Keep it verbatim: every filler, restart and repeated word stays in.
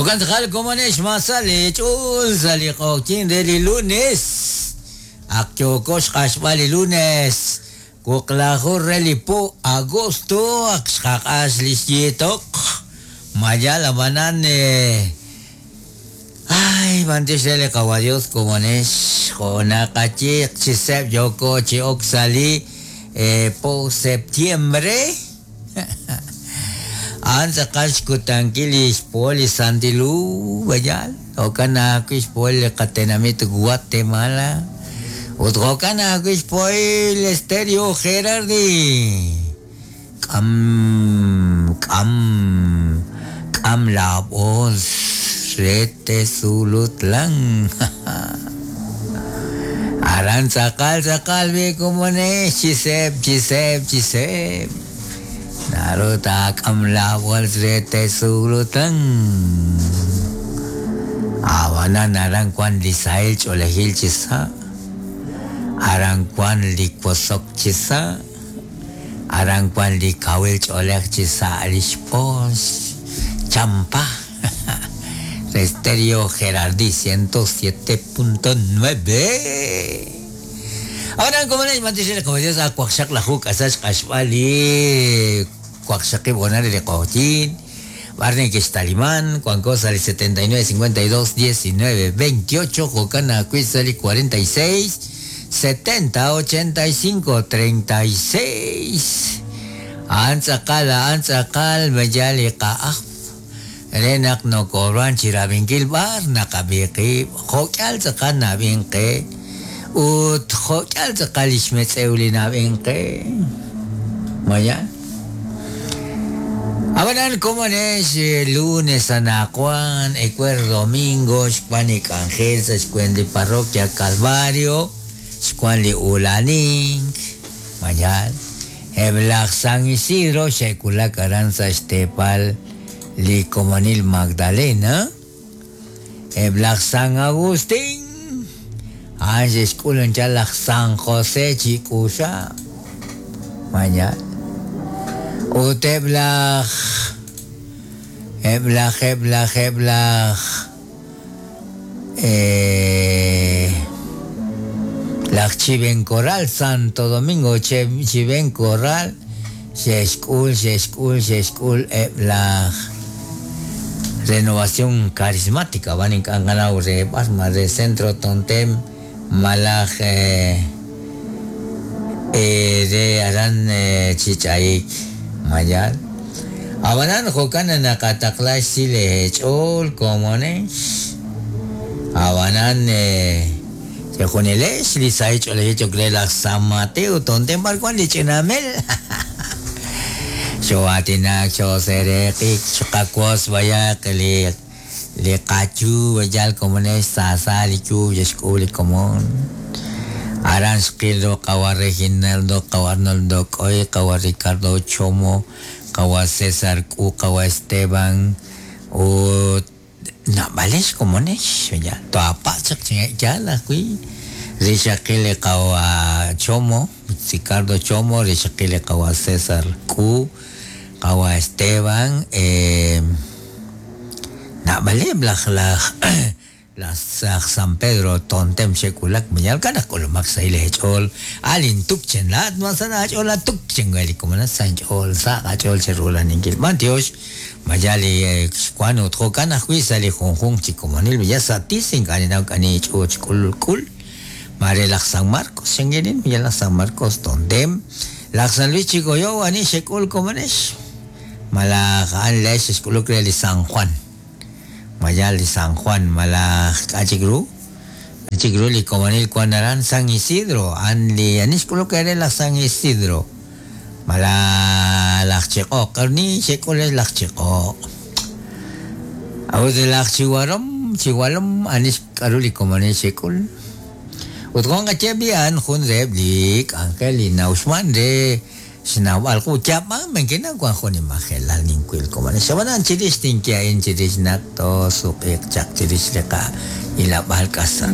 Jo'kan tz'aqal komonex ma sa' li ch'uul sa' li q'oqyink re li lunes. Ak yooko xq'axb'al li lunes. Wuqlaju re li po agosto ak xqaq'ax li xyiitoq. Mayal ab'anan ay b'antiox re li Qawa Dios komonex jo' naqayiq chi seeb' yooko chi ok sa' li po septiembre. A'an tz'aqal xkutankil li xpohol li Santilu bayal. Jo'kan ajwi' xpohol li qatenamit Guatemala. Ut jo'kan ajwi' xpohol Estéreo Gerardi. K'am k'am k'am laab'oos re Tezulutlán. Aran tz'aqal tz'aqal bi komonex chi seeb' chi seeb' chi seeb'. Naru taak'am laab'oos re Tezulutlán. Ab'anan aran wan li sahil ch'oolejil chi sa'. Aran wan li wosok chi sa'. Aran wan li kawil ch'oolej chi sa' li xpoos champa. Estéreo Gerardi ciento siete punto nueve. Ahora como les mantiene como Dios a cuaxaq la juk asach q'axb'al cuaxaqib onar li q'oqyin. Barney que Talimán, Juan Cosa el setenta y nueve, cincuenta y dos, diecinueve, veintiocho, Jocana Cuizali cuarenta y seis, setenta, ochenta y cinco, treinta y seis. Antzaqal, antzaqal, mayali qa'aj. Renak no kobran chirabinkil bar naqabiqi, jok'al tzaqal nabinqe, ut jok'al tzaqal ixmetz'ewli nabinqe. Maya. Abanan como es lunes anacuan, ecuer domingo, xcuan Ángel, xcuan de parroquia Calvario, xcuan li Ulanink, mayal, Eblaj San Isidro, xekulak aranza xtepal, li Comanil Magdalena, Eblaj San Agustín, Ángel xkulan San José Chicusa, mayal. Ut eblaj, eblaj, eblaj, eblaj, eh, laj Chiven Corral, Santo Domingo, Chiven Corral, xexkul, xexkul, xexkul, eblaj, Renovación Carismática, van en Canganau, re Basma, re Centro Tontem, Malaj, eh, eh, de Aran eh, Chichaik. Mayal. Abanan jokan naqataqlax sile ch'ol komonex. Abanan chejunilex li sai ch'olex ch'okle San Mateo tontem barcuan li ch'inamel. Xoatinak xosereqik xqakuos bayaq li li qachu bayal komonex sasa li chu yexk'ul komon. Aran xqil qawa Reginaldo, qawa Arnoldo Koy, qawa Ricardo Chomo, qawa César Q, qawa Esteban, o nabalex komonex, ya, toapachaq ya la kui, Rixaqil qawa Chomo, Ricardo Chomo, Rixaqil qawa César Q, qawa Esteban, eh, nabale blaj laj las San Pedro tontem xekulak mayal kana kolomak sa ile chol alin tukchen la masana chola tukchen gali como na san chol sa chol cherula ningil mantiosh mayali cuando trocana juisa li junjun chikomonil ya satisin kani na kani chuch kul kul mare la San Marcos shengerin ya la San Marcos tontem la San Luis Chicoyo ani xekul komonesh mala an lesh xkuluk li San Juan Mayal de San Juan, malaj achigru, achigru li comanil cuanaran San Isidro, an li anishkulo que la San Isidro, mala lach chico, carni chico les lach chico. Aud de lach chihuarom, chihualom anish karuli comanil chicul. Utgon gachebian jun reblik, Angelina Usman de Xnawal ku chapa menkina kwan joni majelal ninkuil koman shabanan chirish tinkia in chirish nato suqiq chak chirish liqa ilabal kasa.